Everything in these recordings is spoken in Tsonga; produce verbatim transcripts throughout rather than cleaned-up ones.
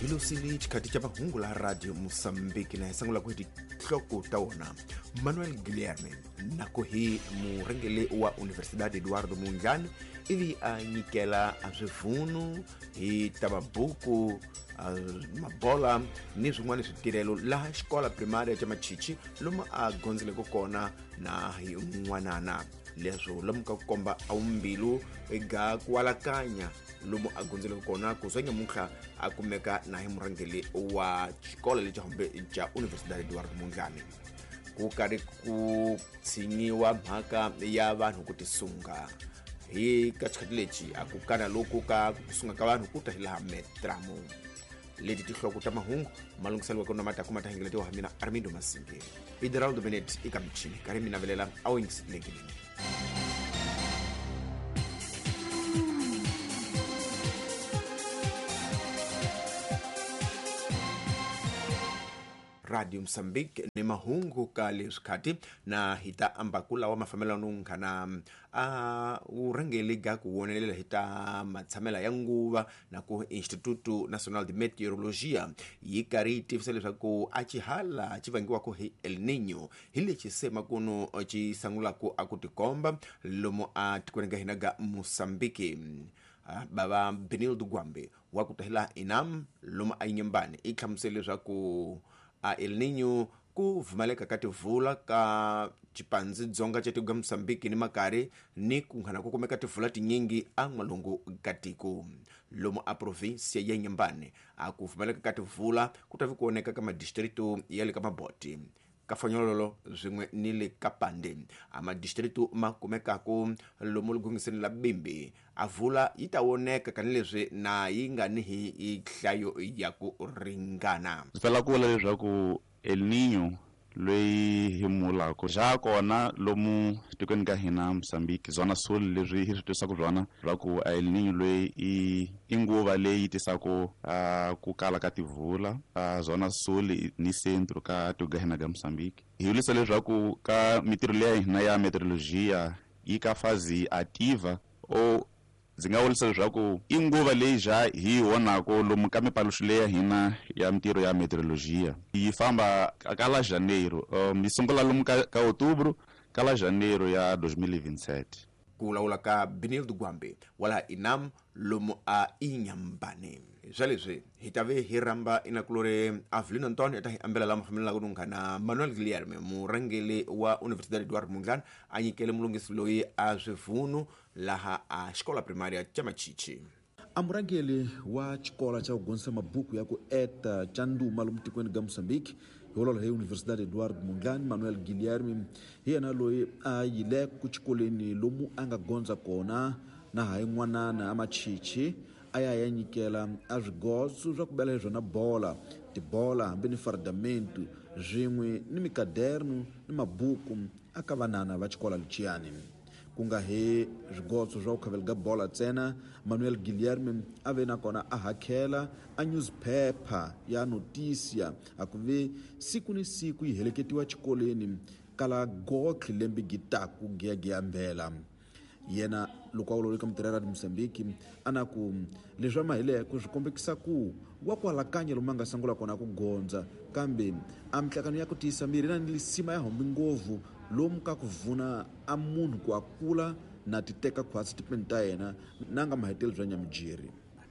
Hilosini xikhathi xa mahungu la Radio Mozambique na hi sungula ku hi tinhloko ta wona. Manuel Guilherme nako hi murhangeri wa Universidade Eduardo Mondlane ivi a nyikela a swivunu hi ta mabuku mabola ni swin'wana switirhelo laha xikola primaria xa Machichi lomu a gondzeleke kona na hi n'wanana. Leswo lomu ka ku komba awumbilu ega ku alakanya lomu a gondzeleke kona ku swa nyamuntlha a kumeka na hi murhangeri wa xikolo lexi hambe xa Universidade Eduardo Mondlane. Ku karhi ku tshinyiwa mhaka ya vanhu ku tisunga hi ka xikhathi lexi a ku kana loku ka ku sunga ka vanhu ku ta hi laha Metramo. Leti tinhloko ta mahungu malunghiselo wa kona mata kuma ta hingeletiwa ha mina Armindo Masinge. Ideraldo Benet eka michini karhi mina velela a wu yingisetelekile. Radio Mozambique ni mahungu ka leswi khati na hi ta ambakula wa mafambelano nkhana a urhangeli ga ku wonelela hi ta matshamela ya nguva na ku Instituto Nacional de Meteorologia yi karhi yi tivisa leswaku a xihala xi vangiwaka hi El Niño hi lexi se makuno xi sungulaka a ku tikomba lomu a tikweni ka hina ga Mozambique. Baba Benildo Gwambe wa ku tahela Inam lomu a Inhambane i hlamusele leswaku a El Niño ku vumaleka ka tivula ka xipandzi dzonga xa tiko ga Mozambique ni makari ni ku nghana ku kumeka tivula tinyingi a n'walungu ka tiko lomu a provinsia ya Inhambane a ku vumaleka ka tivula ku ta vi ku oneka ka madistrito ya le ka Maboti ka Fanyololo swin'we ni le ka Pande a madistrito ma kumekaka lomu ligungiseni la Bimbi a vula yi ta voneka kanileswi na yi nga ni hi nhlayo ya ku ringana. Ndzi pfela ku vula leswaku El Niño loyi hi mulaka xa kona lomu tikweni ka hina Mozambique zona sul leswi hi swi twisaka byona leswaku El Niño loyi i i nguva leyi tisaka ku kala ka tivula zona sul ni centro ka tiko ka hina ka Mozambique. Hi vulisa leswaku ka mitirho leya hina ya meteorologia yi ka fazi ativa o ndzi nga vurisa leswaku i nguva leyi ja hi vonaka lomu ka mipaluxo leya hina ya mitirho ya meteorologia yi famba ka la janeiro um yi sungula lomu ka, ka outubro ka la janeiro ya dois mil e vinte e sete. Ku vulavula ka Benildo Gwambe wa laha Inam lomu a Inhambane. Swa leswi hi ta ve hi rhamba inakulori Avelino Antonio ta hi ambela lama fambelaka nunghana Manuel Guilherme murhangeri wa Universidade Eduardo Mondlane a nyikele mulunghisi loyi a swivunu laha a xikola primaria xa Machichi. A murhangeri wa xikolo xa ku gonisa mabuku ya ku eta xa nduma lomu tikweni ga Mozambique hi vulavula hi Universidade Eduardo Mondlane Manuel Guilherme hi yena loyi a yile ku xikolweni lomu a nga gondza kona na hayi n'wanana a Machichi a ya ya nyikela a swigozo swa ku bela hi swona bola tibola hambi ni fardamento swin'we ni mikaderno ni mabuku a ka vanana va xikola lexiyani. Ku nga hi swigozo swa ku khaveleka bola ntsena Manuel Guilherme a ve nakona a hakela a newspaper ya Notícia a ku ve siku ni siku yi heleketiwa xikolweni kala gotlhe lembe gitaku giyagiya mbela. Yena loko a vulavula eka mutirhela Radio Mozambique a na ku leswi a mahileko swi kombekisa ku wa ku alakanya lomu a nga sungula kona ku gondza kambe a mihlakano ya ku tiyisa miri na ni lisima ya hombi ngopfu lomu ka ku vuna a munhu ku a kula na ti teka khwatsi tipeni ta yena na nga maheteli bya nyamijeri.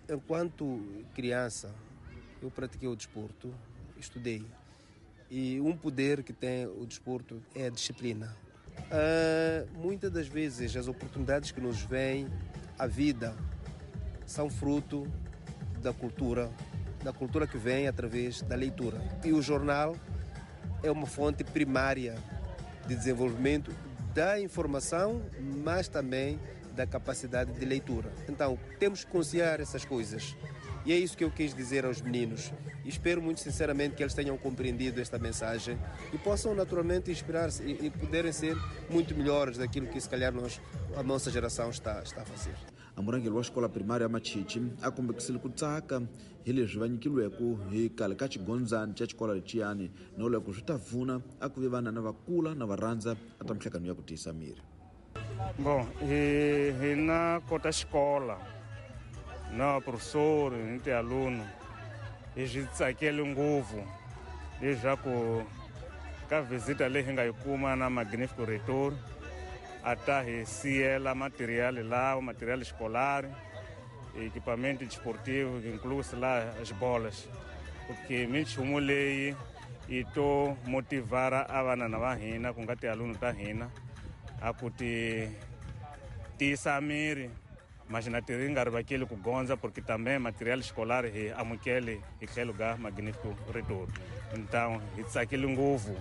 Enquanto criança eu pratiquei o desporto, estudei e um poder que tem o desporto é a disciplina. Uh, muitas das vezes as oportunidades que nos vêm à vida são fruto da cultura, da cultura que vem através da leitura. E o jornal é uma fonte primária de desenvolvimento da informação, mas também da capacidade de leitura. Então, temos que conciliar essas coisas. E é isso que eu quis dizer aos meninos. E espero muito sinceramente que eles tenham compreendido esta mensagem e possam naturalmente inspirar-se e, e poderem ser muito melhores daquilo que se calhar nós, a nossa geração está, está a fazer. A murhangeri wa xikola primária Machichi a kombekisile ku tsaka hi leswi va nyikiweke hi khale ka xigondzani xa xikola lexiyani no loko swi ta vuna a ku ve vanana va kula na va rhandza a ta mihlakano ya ku tiyisa miri. Bom, hi hina kota xikola na professor ni ti aluno Hi swi tsakeli ngopfu leswaku ka visita leyi hi nga yi kuma na Magnífico Reitor a ta hi siyela material lawa, material escolar, equipamento desportivo, incluso lá as bolas, porque minchumu leyi yi to motivara a vana va hina ku nga tialunu ta hina a ku ti tiyisa miri mas na ti nga rivakeli ku gondza, porque também material escolar hi amukele hi tlhelo ga Magnífico Reitor. Então hi tsakile ngopfu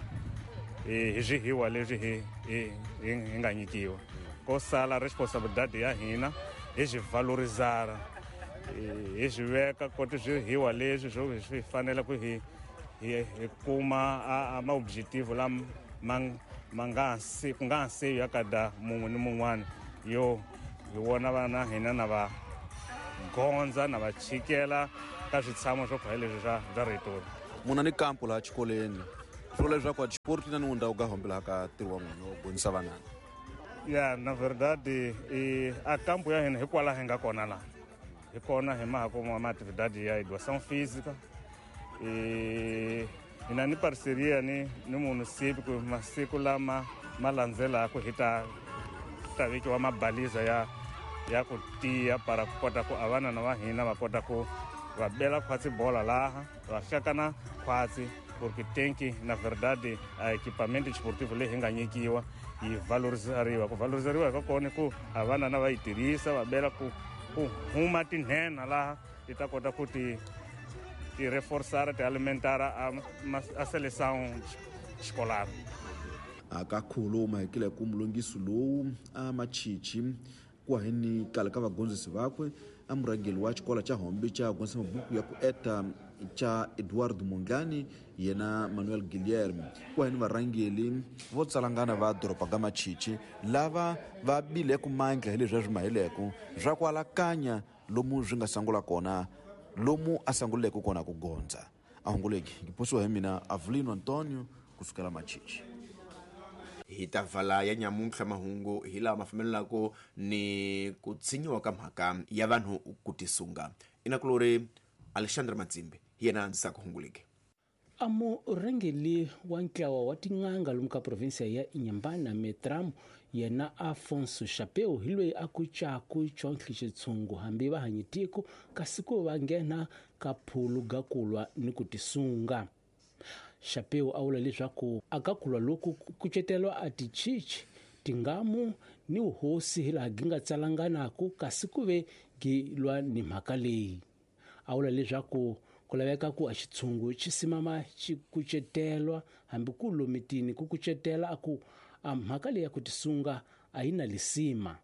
hi swihiwa leswi hi hi hi nga nyikiwa. Ko sala responsabilidade ya hina hi swi valorizara, hi swi veka koti swihiwa leswi swo swi fanele ku hi hi hi kuma a ma objetivo lama ma ma nga se ku nga se ya kada mun'we ni mun'wana yo hi vona vana hina na va gondza na va chikela ka switshamo swo khale leswi swa swa Reitor. Muna ni kampo laha xikolweni swo leswaku a sport na ni ndhawu ka hombela ka ntirho wa n'wina wo gonisa vanana. Ya, na verdade e a campo ya hina hikwalaho hi nga kona laha hi kona hi maha kuma ma atividade ya educação física e hi na ni parceria ni ni município ku masiku lama ma landzelaka hi ta ta vekiwa mabaliza ya ya ku tiya para ku kota ku a vana va hina va kota ku va bela khwatsi bola laha va hlakana khwatsi, porque tem que na verdade a equipamento desportivo leyi hi nga nyikiwa yi valorizariwa. Ku valorizariwa ka kona ku a vana na va yi tirhisa va bela ku ku huma tinhena laha ti ta kota ku ti ti reforçar, ti alimentar a, a seleção escolar. Akakhuluma hikile ku mulungisi lowu a machichi kwaheni kale ka vagondzisi vakwe a murhangeri wa xikolo xa Hombe xa gondzisa mabuku ya ku eta xa Eduardo Mondlane yena Manuel Guilherme kwaheni varhangeri vo tsalangana va doroba ga Machichi lava va bile ku mandla hi leswi swi maheleko swa ku alakanya lomu swi nga sangula kona lomu a sanguleke kona ku gondza. A hunguleki ngiposiwa hi mina Avelino Antonio kusukela Machichi. Hi ta vala ya nyamuntlha mahungu hi laha ma fambelelaka ni ku tshinyiwa ka mhaka ya vanhu ku tisunga. Inakulori Alexandre Matsimbi hi yena a andzisaka hunguleke. A murhangeri wa ntlawa wa tin'anga lomu ka provinsia ya Inhambane Metram yena Afonso Chapeu hi loyi a ku caku chontlhi xitshungu hambi va hanyi tiko kasi ku va nghena ka phulu ga kulwa ni ku tisunga. Chapeu a vula leswaku a ka kulwa loku kucetelwa a tichichi tingamu ni vuhosi hi laha gi nga tsalanganaku kasi ku ve gi lwa ni mhaka leyi. A vula leswaku ku laveka ku a xitshungu xi simama xi kucetelwa hambi ku lomitini ku kucetela a ku a mhaka leyi ya ku tisunga a yi na lisima.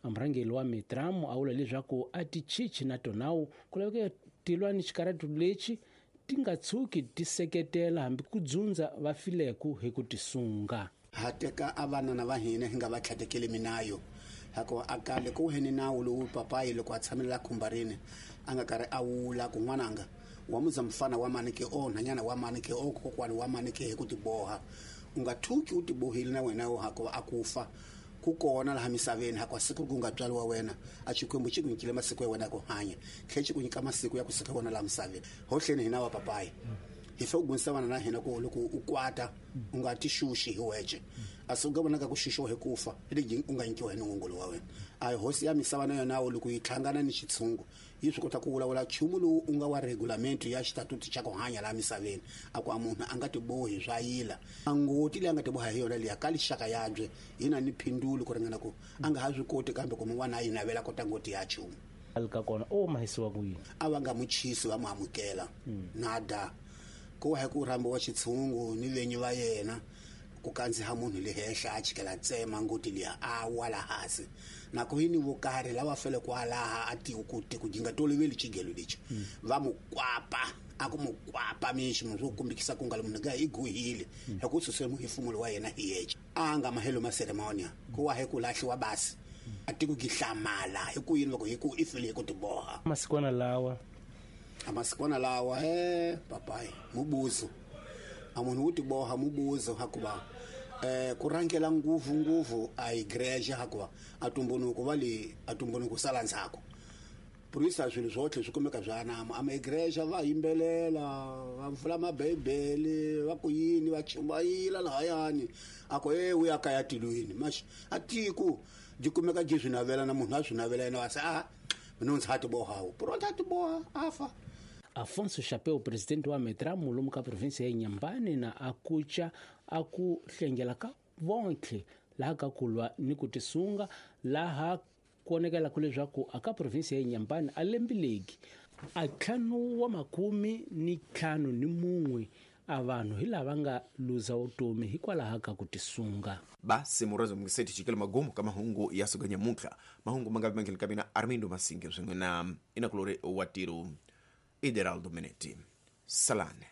A murhangeri wa Metramu a vula leswaku a tichichi na tonawu ku laveka tilwa ni xikaratu lexi ti nga tshuki ti seketela hambi ku dzundza va fileku hi ku tisunga. Ha teka a vanana va hina hi nga va tlhatekeli minayo hikuva a kale ku heni nawu lowu papayi loko a tshamelela khumbarini a nga karhi a wula ku n'wananga wa muza mfana wa mani ke o nhanyana wa mani ke o kokwani wa mani ke hi ku tiboha u nga thuki u tibohile na wena hikuva a ku fa ku kona laha misaveni hikuva siku ku nga tswariwa wena a Xikwembu xi ku nyikile masiku ya wena ya ku hanya tlhe xi ku nyika masiku ya ku suka wena laha misaveni hohleni hina wa papayi hi fe ku gonisa vana na hina ku loko u kwata u nga ti xuxi hi wexe a se u nga vonaka ku xuxiwa hi ku fa legi u nga nyikiwa hi nongolo wa wena. A hosi ya misava na yona loko yi hlangana ni xitshungu yi swi kota ku vulavula nchumu lowu u nga wa regulamento ya xitatuti xa ku hanya laha misaveni a ku a munhu a nga tibohi swa yila a ngoti leyi a nga tiboha hi yona liya ka lixaka yabye yi na ni phindulo ku ringana ku a nga ha swi koti kambe ku mun'wana a yi navela kota ngoti ya nchumu ka kona o mahisiwa ku yini a va nga muchisi va mu amukela nada ku wa ku rhambiwa xitshungu ni venyi va yena ku kandziha munhu le henhla a chikela tsema ngoti liya a wa la hansi na ku yini vo karhi lava fele kwalaha a ti ku ti ku jinga toloveli xigelo lexi va mu kwapa a ku mu kwapa mixi munhu swo kumbikisa ku nga le munhu ga i guhile hi ku susele muhefumulo wa yena hi yexe a nga mahelo ma ceremonia ku wa hi ku lahliwa basi a ti ku gihlamala hi ku yini loko hi ku i fele hi ku tiboha masikwana lawa a masikwana lawa he papayi mubuzo a munhu wu tiboha mubuzo hakuva eh ku rhangela nguvu nguvu a igreja hakuva a tumbunuko va le a tumbunuko sala ndzhaku Por isso swilo swotlhe swi kumeka swi anama ama igreja va yimbelela va pfula mabibele va ku yini va chumayila lahayani a ku e u ya kaya tilweni mas a tiko byi kumeka byi swi navela na munhu a swi navela yena wa se a mina ndzi ti bohawu pronto a ti boha a fa. Afonso Chapeu, presidente wa Metramu lomu ka província ya Inhambane, na akucha aku hlengela ka vontlhe laha ka kulwa ni ku tisunga laha ku onekelaka leswaku aka província ya Inhambane a lembileki a ntlhanu wa makume ni ntlhanu ni mun'we a vanhu hi lava nga luza vutomi hikwalaho ka ku tisunga. Basi murazo mngiseti chikele magumu ka mahungu ya siku ya nyamuntlha. Mahungu mangavi mangeni ka mina Armindo Masinge swin'we na Inakulore wa Tiro Ideraldo Menetti. Salane.